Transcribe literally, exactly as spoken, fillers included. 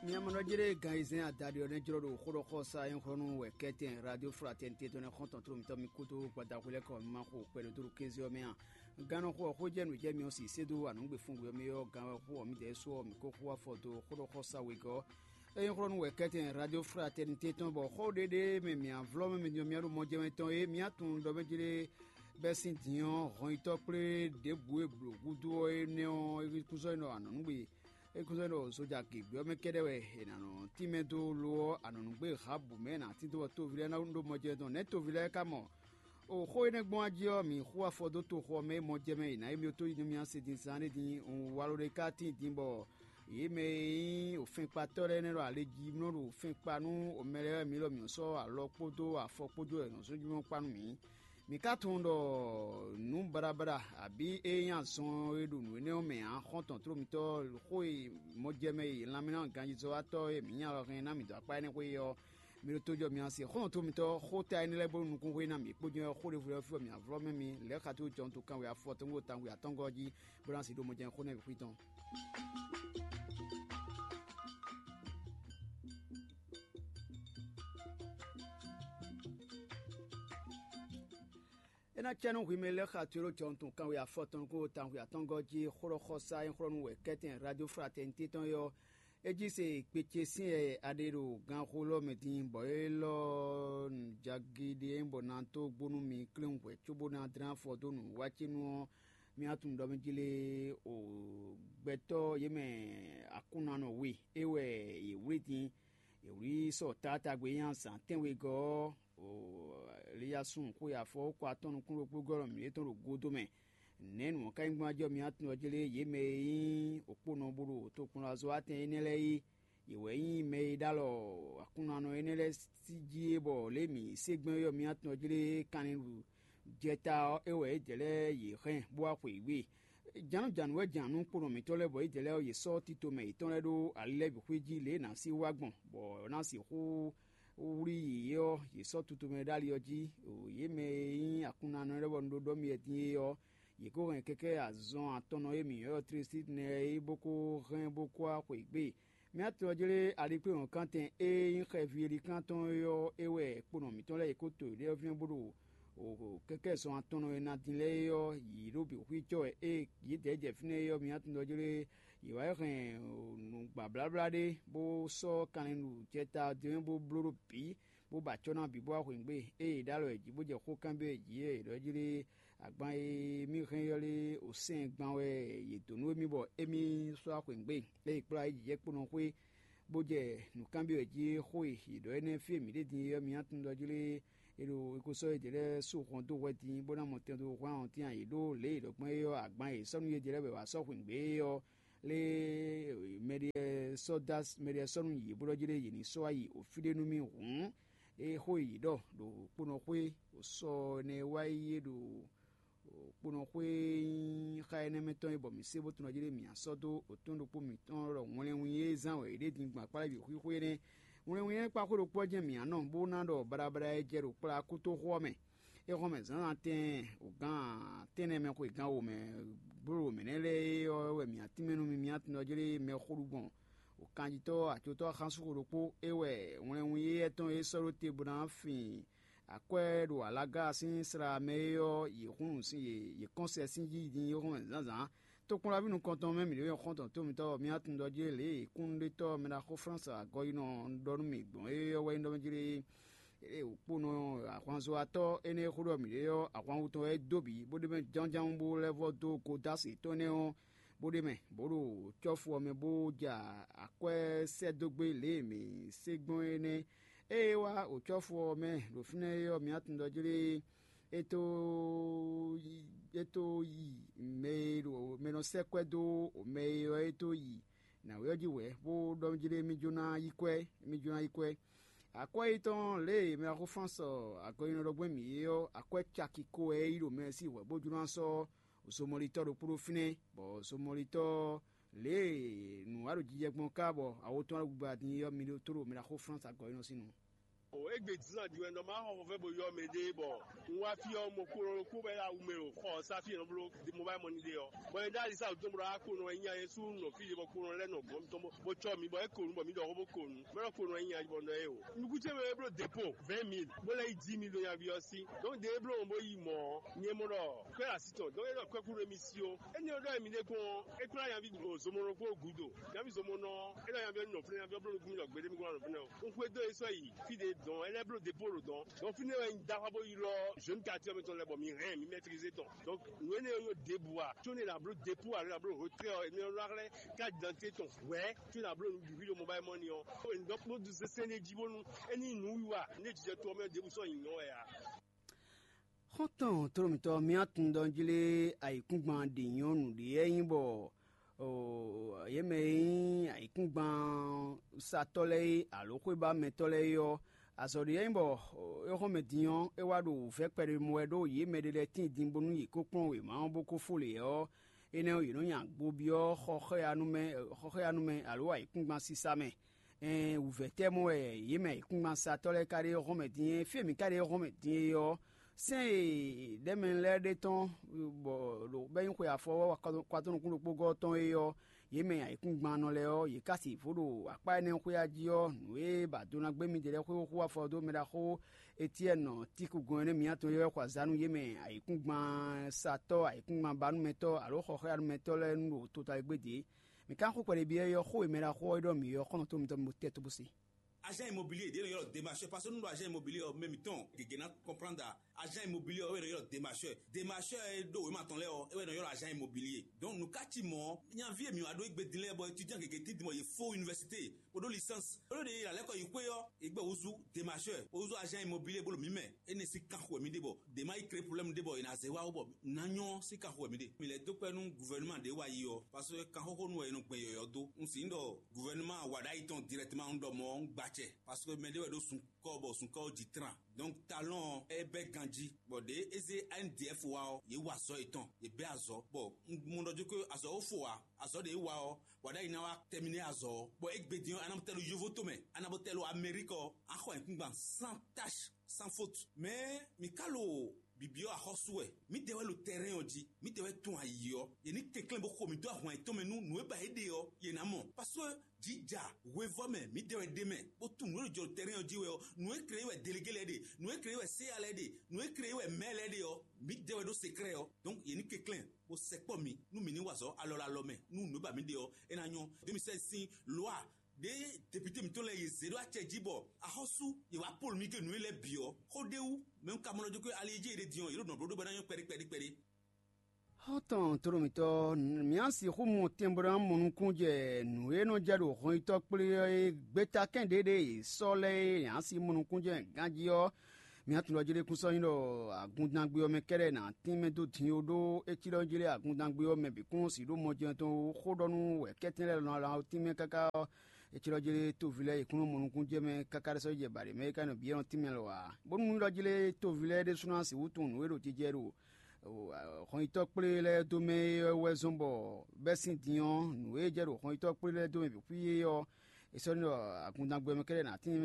Miamɔnɔjlé gan e zɛ́n adaɖé ɔ́ nɛ́ jlɔ́ ɖo xó ɖɔ xɔ sa nyɔ̌xɔ́nú wɛ kɛ́tɛn Radio Fraternité tɔn nɛ́ xɔ́ntɔn tlómitɔ́ mi kúdó gbadahwlɛ́kɔ mi ma xo kpɛɖodóɖó kéze ɔ́ mɛ a? Gannɔxo ɔ́, xó jɛ nǔ jɛ mi ɔ́ si sé dó anǔgbefúngbwe ɔ́ mɛ ɔ́, gan wɛ xó ɔ́, mǐdɛɛ sú ɔ́, mǐ ko xó afɔ dó xó ɖɔ xɔ sa wegɔ́. É nyí xlɔ́ nú wɛ kɛ́tɛn Radio Fraternité tɔn, bɔ xó ɖéɖé mɛ mǐ avlɔ́ mɛ mi din ɔ́, mǐ ɖo mɔ jɛ mɛ tɔn é, mǐ tunwun ɖɔ mɛ jlé bɛ́ sín din ɔ́, hɔnyitɔ́ kplé ɖěbǔ e blǒ gúdo ɔ́ énɛ́ ɔ́, é kún sɔ́ nyí ɖɔ anɔ̌nugbe é kún sɔ́ ɖɔ zoja gěgbe ɔ́ mɛ kɛ́ɖɛ́ wɛ è nǎ nɔ tínmɛ dó lo ɔ́, anɔ̌nugbe Habu mɛ è nǎ tín dó bɔ toví lɛ́ɛ ná ɖó mɔjɛ́nú tɔn. Nɛ̌ toví lɛ́ɛ ka mɔ? O xó énɛ́ gbɔn jí ɔ́, mǐ xú afɔ dó toxo ɔ́ mɛ e mɔjɛ́mɛ è nǎ yi mì tó yi nú mì ase din zán ɖé din. Un wa lo ɖé ka tíin din bɔ yě mɛ e nyí ofɛnkpatɔ́ lɛ́ɛ nɛ́ ɖo alejimlɔ́ ɖo fɛn kpa nú omɛ lɛ́ɛ wɛ mǐ ɖɔ mǐ sɔ́ alɔ kpódó afɔ kpó jó wɛ è nɔ zɔ́n jínjɔ́n kpa nú mǐ. Mǐ ka tunwun ɖɔ nǔ baɖabaɖa abǐ ée nyí azɔn e ɖo nǔ énɛ́ ɔ́ mɛ ǎ, xɔ́ntɔn tló mitɔ́ xó e mɔjɛmɛ e lanmɛnánɔ ganjízɔ́watɔ́ e mǐ nya lɔ hɛn ná mǐ dó akpá énɛ́ xwé é ɔ́, mi ɖo tojɔ mi asi xɔ́ntɔn mitɔ́ xóta énɛ́ lɛ́ɛ bónú nukúnxó ná mǐ kpó nyɔ́ xó ɖěvo lɛ́ɛ fí bɔ mǐ avlɔ́ mɛ mi lɛ̌ xa tó jɔnto kanwe afɔtɔn kpó tawun atɔ́ngɔ́ jí, bó ná si ɖó mɔjɛ́n xó nɛ́ bǐ xwí tɔn. É ná cɛ nú hwi mɛ lɛ́ɛ xa tlóló jɔnto kanwe afɔtɔn kpó tawun atɔ́ngɔ́ jí xó ɖɔ xɔ sa e xlɔ́ nú wɛ kɛ́tɛn Radio Fraternité tɔn é ɔ́, é jí se kpe ce sín yɛ a ɖe ɖo ganxolɔ́ mɛ din, bɔ élɔ́ nǔjagíɖí e nyí bɔ na tó gbónú mi klín hwɛ̌ cóbó ná dlɛ́n afɔ dó nǔwiwa ce nu ɔ́, mi wá tunwun ɖɔ mɛ jlé o gbɛtɔ́ yě mɛ akúnanɔ we é wɛ yě wlí din. Yě wlí sɔ taatagbe nyi azǎn tɛ́nwegɔ́ ɔ́, Eliyasúun xwe afɔ kɔ atɔ́ nukún ɖokpó gɔ́ mǐɖée tɔn ɖo godo mɛ. Nɛ̌ nǔ ɔ́ ka nyí gbɔn ajɔ mi atún ɔ́ jlé yě mɛ e nyí òkponɔ bó ɖo tokpɔnlazɔ́watɛn énɛ́ lɛ́ɛ é? Yě wɛ nyí mɛ e ɖó alɔ aklúnɔnɔ énɛ́ lɛ́ɛ sí jí é, bɔ lě e mǐ se gbɛn é ɔ́, mi atún ɔ́ jlé kanlin ɖu jɛta ɔ́, é wɛ yědɛɛ lɛ́ɛ yě hɛn bó wá xwe yě. Jǎnǔjǎnǔ wɛ jǎn nú kponɔ mǐtɔn lɛ́ɛ, bɔ yědɛɛ lɛ́ɛ ɔ́, yě sɔ́ tito mɛ yětɔn lɛ́ɛ ɖó ali lɛ́ɛ bǐ xwé jí lě e è nǎ sí wá gbɔn, bɔ è nǎ sixú wlí yě ɔ́, yě sɔ́ tutomɛ ɖó ali ɔ́ jí. Yě mɛ e nyí aklúnɔnɔ lɛ́ɛ bɔ un ɖó ɖɔ mi wɛ din é ɔ́, yě kó hɛn kɛkɛ́ azɔn atɔnnɔ e mǐ ylɔ́ Tlesídnɛ é bó kó hɛn bó kó wá xweyǐgbe. Mǐ atɔn ɔ́ jlé alikpléhɔ̌nkantɛn e nyí xɛví elikán tɔn é ɔ́, é wɛ kponɔ mǐtɔn lɛ́ɛ yě kó to yěɖée ɔ́ vínɛ́ bó ɖo kɛkɛ́ zɔn atɔnnɔ e ná din lɛ́ɛ é ɔ́ yǐ ɖó bǐ xwíjɔ́ wɛ, ée yědɛɛ jɛ fínɛ́ é ɔ́, mǐ atɔn ɔ́ jlé yě wá yi hɛn nǔgbabláblá ɖé, bó sɔ́ kanlin ɖo jɛta ɔ́ din bó bló ɖó bǐ, bó ba acɔ́ ná bǐ bó wá xweyǐgbe. Ée yě ɖó alɔ yě jí bó jɛ xó kanbyɔ́ yě jí é, yě ɖɔ jí lé agban e mì hɛn ylɔ́ lé osɛ́n gban wɛ yě dǒ nú émí bɔ émí sɔ́ wá xweyǐgbe. Ée yě kplá yí jǐjɛ́kponɔ xwé, bó jɛ nǔkanbyɔ́ yě jí xó e yě ɖɔ énɛ́ fí e mǐ ɖe din é ɔ́, mi ná tunwun ɖɔ jí lé è ɖo è ko sɔ́ yědɛɛ lɛ́ɛ sú hɔn dó hwɛ din, bó ná mɔ tɛn dó hwlán hɔntín ǎ. Yě ɖó lě e è ɖɔ gbɔn é ɔ́, agban e è sɔ́ nú yědɛɛ lɛ́ɛ bɔ è wǎ sɔ́ xweyǐgbe é ɔ́, lé mɛɖé sɔ́ dó mɛɖé sɔ́ nú yě bó ɖɔ jí lé yě ní sɔ́ wá yi fí ɖé nú mì hǔn. É xó e yě ɖɔ ɖo kponɔ xwé sɔ ɛnɛ wá yi é ɖo kponɔ xwé nyí xá énɛ́ mɛ tɔn é, bɔ mǐ se bó tunɔ jí ɖé mǐ sɔ́ dó òtún ɖokpó mǐtɔn ɖɔ wɛnlɛnwin e zán wɛ yě ɖe din gbɔn akpá lɛ́ɛ bǐ xwíxwé nɛ́. Wɛnlɛnwin énɛ́ kpá xwé ɖokpó ɔ́ jɛ́n mǐ ná nɔ, bó ná ɖɔ baɖabaɖa e jɛ ɖo kplá kútóxó ɔ́ mɛ. É hɔn mɛ zǎnzǎn tɛɛn, wǒgán tɛ́nnɛ mɛ xwe gán wo mɛ bló mɛ̌ nɛ́ lɛ́ɛ é ɔ́ wɛ mǐ ná tínmɛ nú mi, mǐ ná tunɔ jí ɖé mɛxó ɖu gbɔn wǒkanjitɔ́ acotɔ́ xánsúxo ɖokpó. É wɛ wɛnlɛnwun yéyɛ́ tɔn e sɔ́ ɖó te bó ná fin akwɛ́ ɖo alaga sín sla mɛ é ɔ́, yě hun nǔ sín yě yě kɔn sɛ sín jí din é hɔn zǎnzǎn. Tokpɔnlaví nukɔntɔn mɛ mǐ ɖo nyɔ̌ xɔ́ntɔn tó mitɔ́ ɔ́, mǐ atundɔ́ jí lě e kúnnuɖetɔ́ mɛɖaxó Flánsi agɔyinɔ ɖɔ nú mì gbɔn é ɔ́ wɛ nyí ɖɔ mɛ jí lé. Ée wǒkponɔ ahwanzɔ́watɔ́ énɛ́ e xó ɖɔ mǐ ɖe ɔ́, ahwanvú tɔn wɛ é dó bǐ, bó ɖ'é mɛ jánján bó lɛ́ vɔ́ dó godási tɔn énɛ́ ɔ́, bó ɖ'é mɛ, bó ɖo cɔ́fu ɔ́ mɛ bó ja akwɛ́ sɛ́ dó gbé lě e mǐ se gbɔn é nɛ́. Ée é wá ɖo cɔ́fu ɔ́ mɛ ɖo fínɛ́ é ɔ́, mǐ atundɔ́ jlé é tó yi é tó yi mɛ e ɖo mɛ nɔ sɛ́ kwɛ́ dó mɛ e ɔ́ é tó yi nǎwe ɔ́ jí wɛ̌, bó ɖɔ jí lé mí jó ná yí kwɛ́, mí jó ná yí kwɛ́. Akwɛ́ yětɔn lě e mɛ axó Flánsi agɔnyinɔ ɖɔ gbɛn mǐ é ɔ́, akwɛ́ caki ko wɛ é yí ɖo mɛ sín hwɛ̌ bó jló ná sɔ́ zomɔlitɔ́ ɖokpó ɖó fínɛ́, bɔ zomɔlitɔ́ lě e nǔ wa ɖo jijɛ gbɔn ká bɔ awo tɔn wá ɖo gbigba din é ɔ́, mi ɖó tó ɖo mɛ ɖaxó Flánsi agɔnyinɔ sín nu. Égbé zán ɖi wɛ nɔ má xɔ xɔfɛ bo yɔ mɛ ɖé bɔ un wá fí ɔ́, mɔ kó ɖokpó bɔ é ɖo awu mɛ ɖo xɔ ɔ́ sá fí e nɔ bló mobile money ɖe ɔ́. Bɔ é ɖó ali sá wǔtɔn bɔ ɖó wá kó nɔ wɛ nyi ayɛ sú nɔ fí ɖé bɔ kó nɔ lɛ́ nɔ gɔ̌n mitɔn bó bó cɔ́ mi bɔ é ko nu bɔ mi ɖɔ xó bó ko nu. Mɛ ɖɔ kó nɔ wɛ nyi ayɛ bɔ nɔ é o. Nukún ce mɛ é bló dépôt vingt mille bó lɛ́ yi dix millions nyaví ɔ́ sí. Donc ɖě é bló ɔ́ bó yi mɔ̌ ɔ́, nyɛ mɔ ɖɔ kwɛ́ así tɔn. Donc é ɖɔ kwɛ́ kú ɖo émission. Énɛ́ ɔ́ ɖɔ émi ɖé kpɔ́n é kplá nyaví zomɔnɔ kpó gǔdo. Nyaví zomɔnɔ é ɖɔ nyaví ɔ́ nɔ fínɛ́, nyaví ɔ́ bló nukún mi ɖɔ gbeɖé mi kó nɔ fínɛ́ o. Un xwedó é sɔ́ yi fí ɖě dɔn, é lɛ́ bló dépôt ɖo dɔn. Donc fínɛ́ wɛ un dó axwá bó ylɔ́ jeune quartier ɔ́ mɛ tɔn lɛ́ɛ bɔ mi hɛn mi maîtriser tɔn. Donc nǔ énɛ́ ɔ́ nyɔ́ ɖěbǔ ǎ. Có ne è nǎ bló dépôt alo è nǎ bló retrait ɔ́, énɛ́ ɔ́ nɔ xlɛ́ carte d'identité tɔn hwɛ̌ có è nǎ bló nǔ bǐ ɖo mobile money ɔ́. È nǐ dɔn kpódó sésé n'i jí bónú é ní nyí nǔwiwa, nú é jijɛ to ɔ́ mɛ ɖěbǔ sɔ́ nyǐnyɔ́ wɛ ǎ. Xɔ́ntɔn tlólɔ̌mítɔ́ mía tunwun ɖɔ jlé ayǐkúngban ɖě nyɔ́ nǔɖé wɛ nyí bɔ yě mɛ e nyí ayǐkúngban satɔ́ lɛ́ɛ é alo xwébámɛtɔ́ lɛ́ɛ é ɔ́, azɔ̌ ɖé wɛ nyí bɔ é xɔ́mɛ din ɔ́, é wá ɖo wǔvɛ́ kpɛɖé mɔ wɛ ɖó yě mɛ ɖé lɛ́ɛ tíin din bónú yě kó kplɔ́n wěma ɔ́ bó kó fó lě ɔ́, énɛ́ ɔ́, yě nɔ nya gbobyɔ́ xɔxɔ́yanu mɛ, xɔxɔ́yanu mɛ alo ayǐkúngban sísá mɛ. Ɛn wǔvɛ́ tɛ́ mɔ wɛ yě mɛ ayǐkúngbansatɔ́ lɛ́ɛ ka ɖe hɔn mɛ din é? Fí e mǐ ka ɖe hɔn mɛ din é ɔ́, sɛ́n e ɖɛ̌mɛ lɛ́ɛ ɖe tɔn bɔ ɖo bɛ́ nyí xwe afɔ ɔ́ kwatɔ́ nukún ɖokpó gɔ́ tɔn é ɔ́, yě mɛ ayǐkúngban nɔ lɛ́ɛ ɔ́, yě ka sixú ɖo akpá énɛ́ xwé jí ɔ́, nǔ e ba do ná gbé midɛɛ lɛ́ɛ xwé xó afɔ dó mɛ ɖaxó Etiɛ́ni Tíku gɔn énɛ́ mǐtɔn é wɛ xɔ azǎn nú yě mɛ ayǐkúngbansatɔ́, ayǐkúngbanbanúmɛtɔ́ alo xɔxɔ́yanúmɛtɔ́ lɛ́ɛ nu ɖo tota e gbé dě. Mǐ ka xó kpɛɖé byɔ́ é ɔ́, xó e mɛ ɖaxó ɔ́ e ɖɔ mǐ ɔ́, xɔ́nɔ tó mitɔn mi bo tɛ́ tó bó se. Agent immobilier ɖě nɔ ylɔ́ démarcheur, parce que nú ɖo agent immobilier ɔ́, mɛ mǐtɔn gěgé ná comprendre. Agent immobilier ɔ́ é nɔ ylɔ́ démarcheur. Démarcheur e ɖó wěma tɔn lɛ́ɛ ɔ́, é wɛ nɔ ylɔ́ agent immobilier. Donc nǔ ka cí mɔ̌, nyaví e mǐ wá ɖó égbé din lɛ́ɛ bɔ étudiant gěgé tín din bɔ yě fó université bó ɖó licence, bó ɖó ɖě e yě ná lɛ́ kɔ yi xwé ɔ́, yě gbɛ wúzú démarcheur, bó wúzú agent immobilier bó ɖo mǐ mɛ. Énɛ́ sín kanxo wɛ mǐ ɖe bɔ ɖě ma yi kré problème ɖé bɔ è nǎ zé wá ó bɔ ná nyɔ́ sín kanxo wɛ mǐ ɖe. Mǐ lɛ́ dó kpɛ́ nú gouvernement ɖě wá yi ɔ́, parce que kanxóxónu wɛ è nɔ gbɛn yɔ̌yɔ́ dó. Un sǐ ɖɔ gouvernement wa ɖ'ayǐ tɔn directement un ɖɔ mɔ̌ un gba acɛ, parce que mɛ ɖé wɛ ɖó sunkɔ́ bɔ sunkɔ́ ɔ́ jí tran. Donc talɔn ɔ́, é bɛ́ ganjí, bɔ ɖě é zé A N D F wá ɔ́, yě wa azɔ̌ yětɔn, yě bɛ́ azɔ̌, bɔ un mɔ ɖɔ jó azɔ̌ ó fo ǎ. Azɔ̌ ɖě é wa ɔ́, wa ɖ'ayǐ ná wá terminer azɔ̌ ɔ́, bɔ égbé din ɔ́, a nǎ bó tɛ́ ɖo yóvó tomɛ, a nǎ bó tɛ́ ɖo Amérique ɔ́, a xɔ ayǐkúngban sans tache, sans faute. Mais mǐ ka lo bǐbyɔ́ axɔ́sú wɛ. Mǐdɛɛ wɛ ɖo terrain ɔ́ jí, mǐdɛɛ wɛ tunwun ayǐ ɔ́, yě ní kɛnklɛ́n bó xo mǐ dó ahwan yětɔn mɛ nú nǔ e ba yě ɖe ɔ́, yě ná mɔ. Parce que jǐ ja hwevɔ́ mɛ mǐdɛɛ wɛ ɖ'é mɛ, bó tunwun nǔ e jɔ ɖo terrain ɔ́ jí wɛ ɔ́, nǔ e kreyí wɛ délégué lɛ́ɛ ɖe, nǔ e kreyí wɛ séya lɛ́ɛ ɖe, nǔ e kreyí wɛ mɛ lɛ́ɛ ɖe ɔ́, mǐdɛɛ wɛ ɖó secret ɔ́. Donc yě ní kɛnklɛ́n bó sɛkpɔ́ mi nú mǐ ní wa azɔ̌ alɔ ɖo alɔ mɛ nú nǔ e ba mǐ ɖe ɔ́, é ná nyɔ́. Deux mille seize sín loi ɖě député mǐtɔn lɛ́ɛ yě zě ɖó acɛ jí bɔ axɔ́sú yě wá polu mì ke nǔ e lɛ́ɛ bǐ ɔ́, xó ɖé wú, mɛ un ka mɔ nɔ jó ke ali e jí è ɖe din ɔ́, yě ɖo nǔ ɔ bló ɖó bɔ é ná nyɔ́ kpɛɖé kpɛɖé kpɛɖé. Xɔ́ntɔn tlólɔ̌mítɔ́, mǐ a sixú mɔ tɛnbɔɖán mɔ nukún jɛ nǔ e nɔ jɛ ɖo hɔnyitɔ́ kplé ɔ́ e gbeta kɛ́n ɖě ɖe è sɔ́ lɛ́ɛ e nya si mɔ nukún jɛ ganjí ɔ́, mǐ a tunwun ɖɔ jí ɖé kún sɔ́ nyí ɖɔ agundangbe ɔ́ mɛ kɛ́ɖɛ́ nǎ tínmɛ dó din ó ɖó é cí ɖɔ jí lɛ́ɛ agundangbe ɔ́ mɛ bǐ kún sixú ɖó mɔjɛ́n tɔn xó ɖɔ nú wɛ̌kɛ́tɛn lɛ́ɛ lɔ tínmɛ káká ɔ́, é cí ɖɔ jí lɛ́ɛ tóví lɛ́ɛ yě kún nɔ mɔ nukún jɛ mɛ káká ɖé sɔ́ jɛ baɖě mɛ é ka nɔ bǐ é nɔ tínmɛ lɔ ǎ. Bónú nyí ɖɔ jí lɛ́ɛ tóví lɛ́ɛ ɖésú ná sixú tunwun nǔ e ɖo jijɛ ɖo hɔnyitɔ́ kplé lɛ́ɛ dó mɛ é wɛ zɔ́n bɔ bɛ́ sín din ɔ́, nǔ e jɛ ɖo hɔnyitɔ́ kplé lɛ́ɛ dó mɛ bǐ xwí é ɔ́, è sɔ́ ɖɔ agundangbe ɔ́ mɛ kɛ́ɖɛ́ nǎ tín